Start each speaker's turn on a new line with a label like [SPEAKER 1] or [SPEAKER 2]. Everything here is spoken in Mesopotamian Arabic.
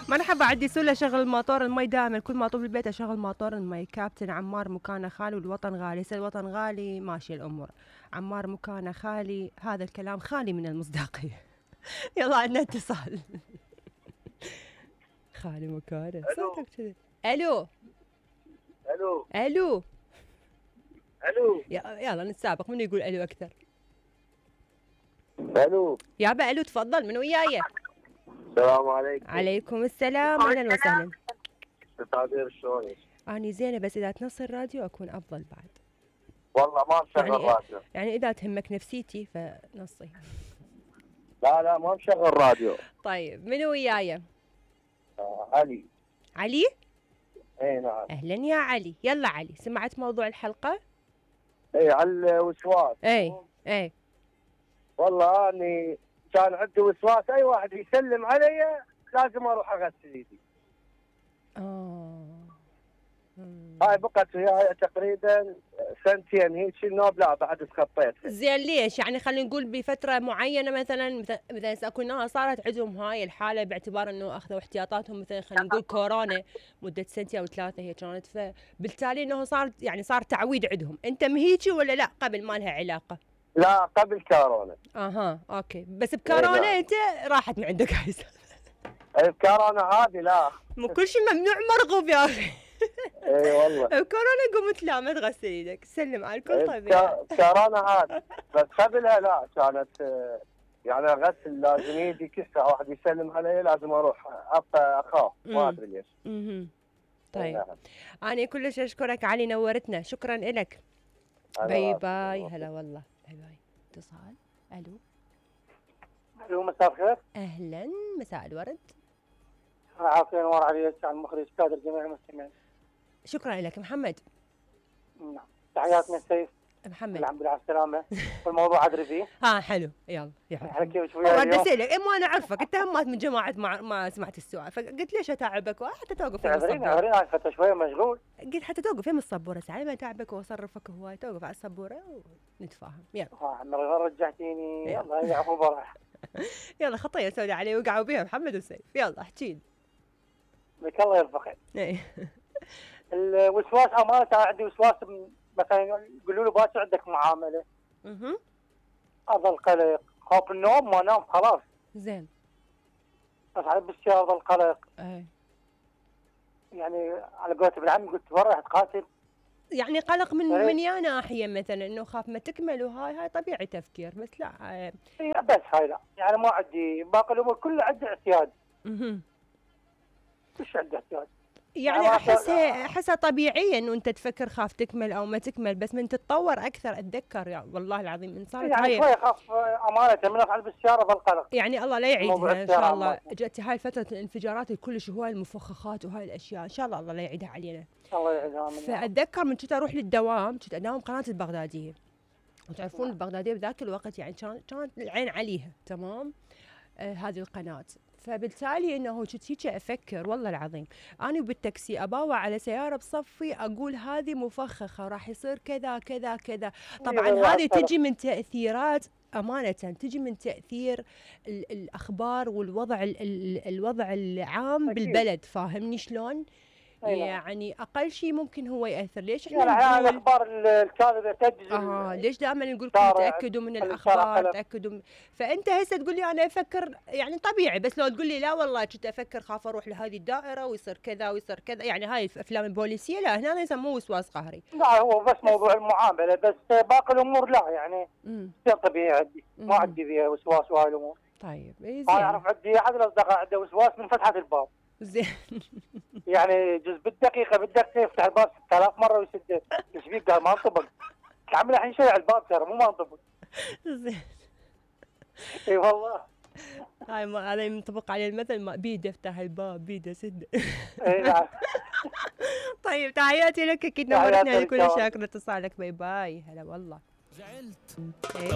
[SPEAKER 1] مرحبا، عندي سؤال اشغل الموتور المي دائما، كل ما اطوف البيت اشغل موتور المي. كابتن عمار مكانه خالي والوطن غالي. الوطن غالي ماشي الامور، عمار مكانه خالي، هذا الكلام خالي من المصداقيه. يلا عندنا اتصال. خالي مكانه صوتك كذا. الو
[SPEAKER 2] الو
[SPEAKER 1] الو
[SPEAKER 2] الو
[SPEAKER 1] يلا نتسابق، من يقول الو اكثر؟
[SPEAKER 2] الو
[SPEAKER 1] يابا الو، تفضل، من وياي؟
[SPEAKER 2] السلام عليكم.
[SPEAKER 1] عليكم السلام، اهلا وسهلا.
[SPEAKER 2] تقدير شلونك؟
[SPEAKER 1] اني زينه، بس اذا تنص الراديو اكون افضل بعد.
[SPEAKER 2] والله ما مشغل راديو.
[SPEAKER 1] يعني اذا تهمك نفسيتي فنصي.
[SPEAKER 2] لا ما مشغل راديو.
[SPEAKER 1] طيب من وياي؟
[SPEAKER 2] علي.
[SPEAKER 1] علي؟
[SPEAKER 2] اي نعم.
[SPEAKER 1] اهلا يا علي. يلا علي، سمعت موضوع الحلقه؟
[SPEAKER 2] اي على الوسواس.
[SPEAKER 1] اي
[SPEAKER 2] والله اني كان عندي وسواس، اي واحد يسلم علي لازم اروح اغسل ايدي. هاي بقت وياي تقريبا سنتين هيك، النوب لا بعد تخطيت.
[SPEAKER 1] زين ليش؟ يعني خلينا نقول بفتره معينه، مثلا اكو ناس صارت عندهم هاي الحاله باعتبار انه اخذوا احتياطاتهم، مثلا خلينا نقول كورونا مده سنتين او ثلاثه هي كانت، فبالتالي انه صار تعويد عندهم. انت مهيجي ولا لا قبل ما لها علاقه؟
[SPEAKER 2] لا قبل كورونا.
[SPEAKER 1] اوكي، بس بكورونا انت راحت من عندك هاي.
[SPEAKER 2] بكورونا هذه لا،
[SPEAKER 1] مو كل شيء ممنوع مرغوب يا اخي.
[SPEAKER 2] اي والله.
[SPEAKER 1] بكورونا قمت لا ما تغسل ايدك، سلم على الكل. طيب
[SPEAKER 2] كورونا هذه، بس قبلها لا كانت يعني اغسل لازم ايدي كسه، واحد يسلم علي لازم اروح اخاف، ما ادري ليش.
[SPEAKER 1] طيب انا كلش اشكرك علي، نورتنا، شكرا لك. باي باي. هلا والله، باي باي. اتصال.
[SPEAKER 2] الو مساء الخير.
[SPEAKER 1] اهلا، مساء الورد.
[SPEAKER 2] عافية نور عليك، عن المخرج كادر جميع المستمعين.
[SPEAKER 1] شكرا لك محمد.
[SPEAKER 2] نعم، تحياتنا سيف
[SPEAKER 1] محمد.
[SPEAKER 2] الحمد لله على السلامة. والموضوع ادري فيه.
[SPEAKER 1] حلو، يلا
[SPEAKER 2] على كيف شوية اليوم.
[SPEAKER 1] بدي اسالك، مو انا اعرفك انت همات من جماعه ما سمعت السؤال، فقلت ليش اتعبك حتى توقف يم السبوره.
[SPEAKER 2] اعذريني فتره شويه مشغول.
[SPEAKER 1] قلت حتى توقف يم السبوره ساعه ما اتعبك واصرفك هواي، توقف على السبوره ونتفاهم. يلا
[SPEAKER 2] رجعتيني. يلا هي عفو براح.
[SPEAKER 1] يلا خطيه سوداء علي وقعوا بيها محمد وسيف. يلا احكي لي.
[SPEAKER 2] لك الله يرفقك. الوسواس امانه عندي وسواس، مثلا يقولوا له باكر عندك معامله. اظل قلق، خوف النوم ما نام خلاص.
[SPEAKER 1] زين.
[SPEAKER 2] بس على بالسيارة اظل قلق. يعني على قولت ابن عمي قلت برا تقاتل.
[SPEAKER 1] يعني قلق من يا ناحيه، مثلا انه خاف ما تكمل، وهاي طبيعي تفكير، بس لا
[SPEAKER 2] بس هاي لا، يعني ما عندي باقي الامور كلها عندي اعتياد. مش عندي اعتياد.
[SPEAKER 1] يعني احسها طبيعيه انه انت تفكر خاف تكمل او ما تكمل، بس من تتطور اكثر اتذكر يا والله العظيم من صارت
[SPEAKER 2] يعني شوي اخاف امانه من افعل بالسياره بالقلق.
[SPEAKER 1] يعني الله لا يعيدها ان شاء الله. جت هاي فتره الانفجارات كلش وهاي المفخخات وهاي الاشياء، ان شاء الله الله لا يعيدها علينا.
[SPEAKER 2] الله يعيدها.
[SPEAKER 1] فاتذكر من كنت اروح للدوام، كنت اداوم قناه البغداديه، وتعرفون البغداديه بذاك الوقت يعني كانت العين عليها تمام. هذه القناه، فبالتالي انه كنت هيك افكر والله العظيم، انا بالتاكسي اباوع على سياره بصفي اقول هذه مفخخه راح يصير كذا كذا كذا. طبعا هذه تجي من تاثيرات، امانه تجي من تاثير الاخبار والوضع الوضع العام بالبلد، فاهمني شلون؟ يعني اقل شيء ممكن هو ياثر. ليش احنا
[SPEAKER 2] يعني الاخبار الكاذبه تجزم.
[SPEAKER 1] ليش دائما نقول لكم تاكدوا من الاخبار، تاكدوا فانت هسه تقول لي انا افكر يعني طبيعي، بس لو تقول لي لا والله كنت افكر خاف اروح لهذه الدائره ويصير كذا ويصير كذا، يعني هاي الافلام البوليسيه لا، هنا يسموه وسواس قهري.
[SPEAKER 2] لا هو بس موضوع المعامله، بس باقي الامور لا، يعني طبيعي عندي، ما عندي فيها وسواس وهاي الامور.
[SPEAKER 1] طيب
[SPEAKER 2] زين. اعرف عندي احد الاصدقاء عنده وسواس من فتحه الباب.
[SPEAKER 1] زين.
[SPEAKER 2] يعني جزء بالدقيقه بدك يفتح الباب 6000 مره ويسده. ايش بيك؟ قال ما انطبق. تعمل الحين شيء على الباب ترى مو ما انطبق.
[SPEAKER 1] زين.
[SPEAKER 2] اي والله.
[SPEAKER 1] هذا ينطبق على المثل، ما بيده افتح الباب بيده سده.
[SPEAKER 2] اي نعم.
[SPEAKER 1] طيب تحياتي لك، اكيد نورتني، كل شاكره اتصالك. باي باي. هلا والله. زعلت.